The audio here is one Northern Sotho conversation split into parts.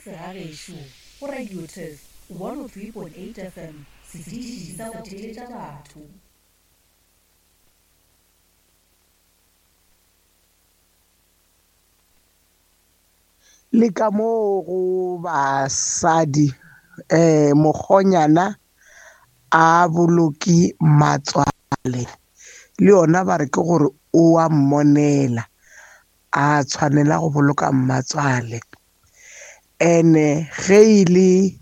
Segagešo go Radio Turf 103.8 FM, setiši sa go theeletša batho. Le ka moo go basadi um mokgonyana a boloke matswale le yona ba re ke gore o a mmonela a tshwanela go boloka mmatswale ene ge e le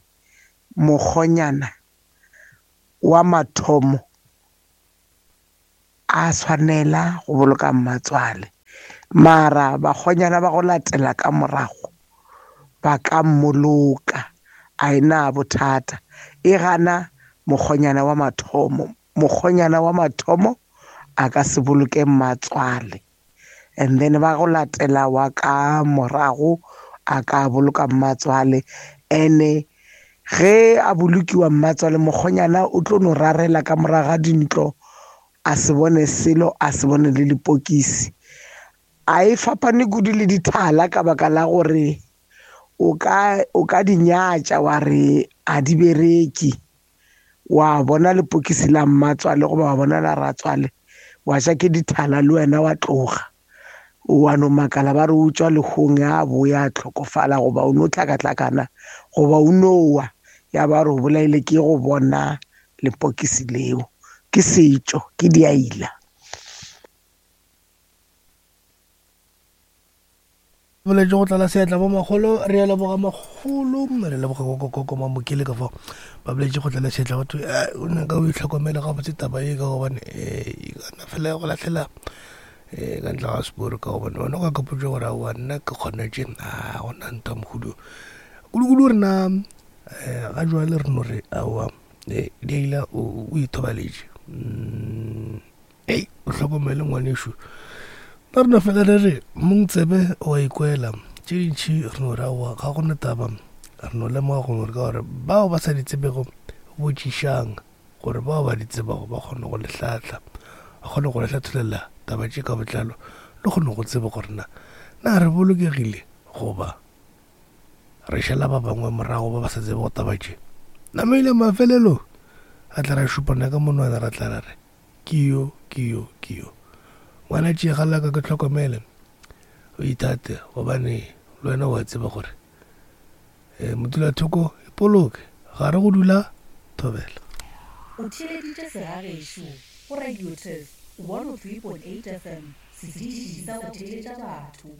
mokgonyana wa mathomo a tshwanela go boloka mmatswale mara bakgonyana ba go latela ka morago ba ka mmoloka a e na bothata e gana mokgonyana wa mathomo mokgonyana wa mathomo a ka se boloke mmatswale and then ba go latela wa ka morago a ka boloka mmatswale ene ge a bolokiwa mmatswale mokgonyana o tlo no rarela ka morago ga dintlo a se bone selo a se bone le lepokisi a e fapane kudu le dithala ka baka la gore o ka o ka di nyatša wa re a di bereke wa bona lepokisi la mmatswale goba wa bona la ratswale wa ja ke dithala le wena wa tloga wa no makala ba re o tswa lehong ya boya a tlhokofala goba o no tlhakatlhakana goba o no wa ya ba re o bolaile ke go bona lepokisi leo ke setšo ke diaila Boletše go tlala seatla bo makgolo re a leboga makgolo re leboga kokokoko mamokele ka fao ba boletše go tlala seatla batho eh, o nyaka o itlhokomele gabotse taba e ka gobane eh, e kana fela ya go latlhela um ka ntle ga seporo ka gobane wena o ka kapotsa gore aowa nna ke kgona tše a gona ntwa mohudu kudu-kudu rena um ga jwale re no re aowa diaila o ithobaletše mm. Ei, o hlokomele ngwanešu. Nna re no fela re re mong tsebe o a ikwela. Tše dintši re no re aowa ga go na taba. Re no lemoga gore ka gore bao ba sa di tsebego botšišang gore bao ba di tsebago ba kgone go le hlahla, ba kgone go le hlatholela taba tše ka botlalo le kgone go tseba gore na na re bolokegile goba re šala ba bangwe morago ba ba sa tsebego taba tše. Namile mafelelo a tla ra šupana ka monwana ra tla ra re Ke yo, ke yo, ke yo. Ngwana tšega la ka ke hlokomele, o ithate gobane le wena o a tseba gore eh, modulathoko ipoloke ga re go dula thobela. O theeleditše Segagešo go Radio Turf 103.8 FM, setiši sa go theeletša batho.